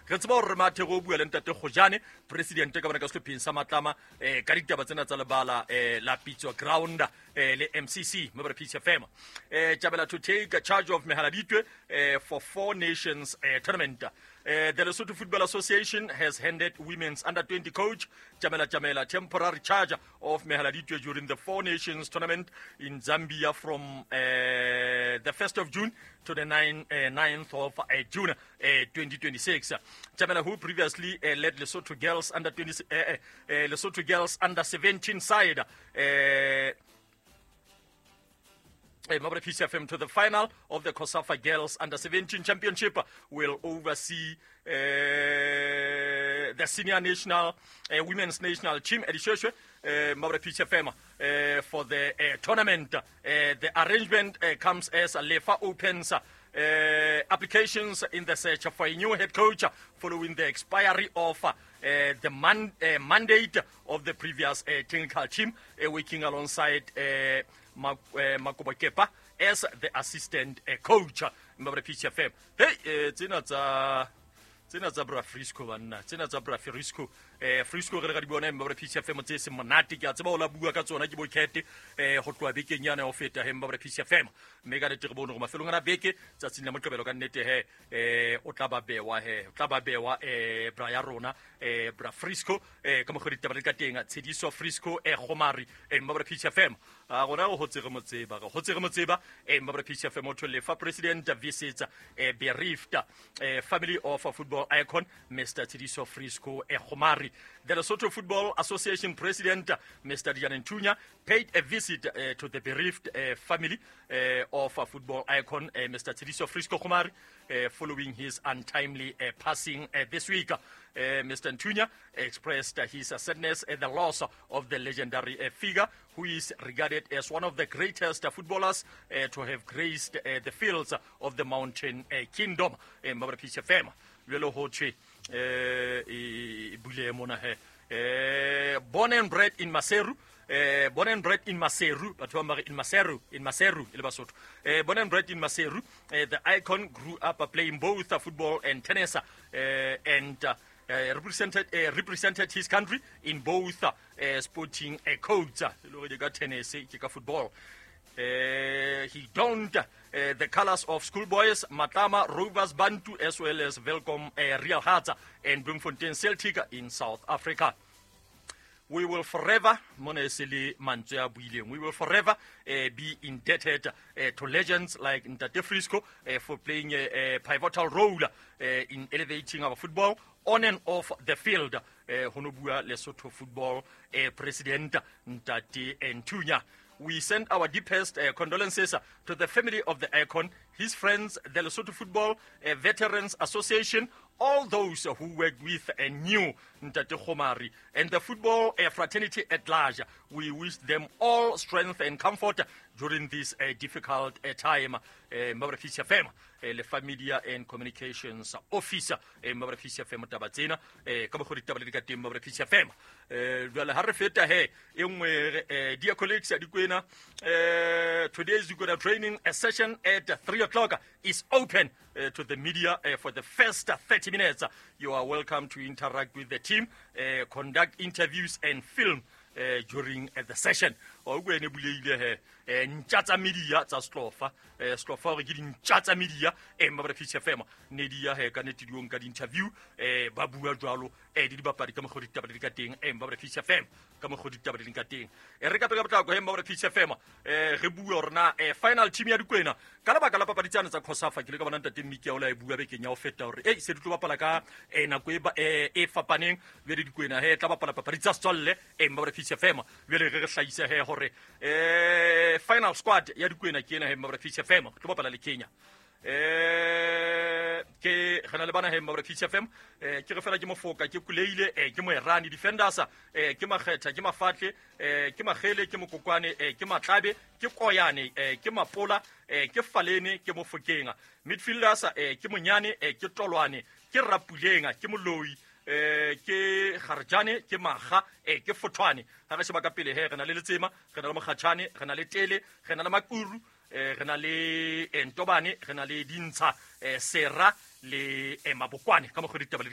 Re tseba gore re mathe go bua le ntate Gojane, president ka bona ka sehlopheng sa Matlama, ka ditaba tsena tsa lebala la Pitso Ground le MCC mo Peace FM. Tjabela to take charge of Mehaladitwe for Four Nations tournament. The Lesotho Football Association has handed women's under 20 coach Jamela Jamela temporary charge of Mehaladitwe during the Four Nations tournament in Zambia from the 1st of June to the 9th of June 2026. Jamela, who previously led Lesotho girls under 20, Lesotho girls under 17 side, Mabra Peace FM to the final of the COSAFA Girls Under 17 Championship, will oversee the senior national women's national team at Shweshwe, Mabra Peace FM, for the tournament. The arrangement comes as LEFA opens applications in the search for a new head coach following the expiry of the mandate of the previous technical team, working alongside Makobo Kepa as the assistant coach. Mabra Peace FM. Hey, tsena tsa bra Frisco banna, tsena tsa bra Frisco. Frisco re ga di bona Mabra Peace FM tse se monate, ke a tseba o la bua ka tsona ke bo kete go tloa bekeng yana ho feta he Mabra Peace FM. Mme ka nete re bone gore mafelong ana beke tsatsing la Moqebelo ka nnete he o tla ba bewa he, o tla ba bewa bra ya rona bra Frisco ka mokgwa ditaba le ka teng Tshediso Frisco Gomari Mabra Peace FM. A gona go hotse re motseba, re hotse re motseba Mabra Peace FM o lefa president visits bereaved family of football icon Mr. Tshediso Frisco Gomari. The Lesotho Football Association president Mr. Diane Ntunya paid a visit to the bereaved family of football icon Mr. Tshediso Frisco Gomari following his untimely passing this week. Mr. Ntunya expressed his sadness at the loss of the legendary figure, who is regarded as one of the greatest footballers to have graced the fields of the Mountain Kingdom. Mabra Peace FM. Jwale ho thwe e bule mona he. Born and bred in Maseru. Born and bred in Maseru, batho ba mare in Maseru, in Maseru, e le Basotho. Born and bred in Maseru, the icon grew up playing both football and tennis, and represented his country in both sporting codes. E le hore ke ka tennis, ke ka football. He donned the colors of Schoolboys, Matlama, Rovers, Bantu, as well as Welkom, Real Hearts and Bloemfontein Celtic in South Africa. We will forever, mona e se le mantswe a buileng, we will forever be indebted to legends like Ntate Frisco for playing a pivotal role in elevating our football on and off the field. Ho no bua Lesotho football president Ntate Ntunya. We send our deepest condolences to the family of the icon, his friends, the Lesotho Football Veterans Association, all those who worked with and knew Ntate Gomari, and the football fraternity at large. We wish them all strength and comfort during this difficult time. Mabra Peace FM, Lefa Media and Communications Officer, Mabra Peace FM taba tsena, ka mokgwa ditaba le di ka teng Mabra Peace FM. Jwale ha re feta he, e nngwe, dear colleagues, Dikwena, today's Dikwena training a session at 3 o'clock is open to the media for the first 30 minutes. You are welcome to interact with the team, conduct interviews and film during the session. O go ene buleile he, ntja tsa media tsa Slofa, Slofa hore ke dintja tsa media, Mabra Peace FM ne di ya he ka nete diong ka di-interview, ba bua jwalo, di dibapadi ka mokgwa ditaba di ka teng, Mabra Peace FM ka mokgwa ditaba di ka teng. Re ka pele ka potlako he Mabra Peace FM, re bua hore na final team ya Dikwena ka lebaka la papadi tsane tsa COSAFA, ke le ka bona ntate Miki a o la e bua bekeng ya ho feta hore se di tlo bapala ka nako e fapaneng, jwale Dikwena he tla bapala papadi tsa setswalle, Mabra Peace FM. Jwale re hlahise he hore final squad ya Dikwena ke ena he Mabra Peace FM, tlo bapala le Kenya. Ke re na le bana he Mabra Peace FM, ke re fela ke Mofoka, ke Kuleile, ke Moerani defenders, ke Makgetha, ke Mafatle, ke Magele, ke Mokokwane, ke Matlabe, ke Koyane, ke Mapola, ke Falene, ke Mofokeng. Midfielders, ke Monyane, ke Tolwane, ke Rapuleng, ke Moloi, ke Garjane, ke Maga, ke Fothwane. Ha re sheba ka pele he re na le Letsema, re na le Mokgatjhane, re na le Tele, re na le Makuru, re na le Ntobane, re na le Dintsha, Sera le Mabokwane. Ka mokgwa ditaba le di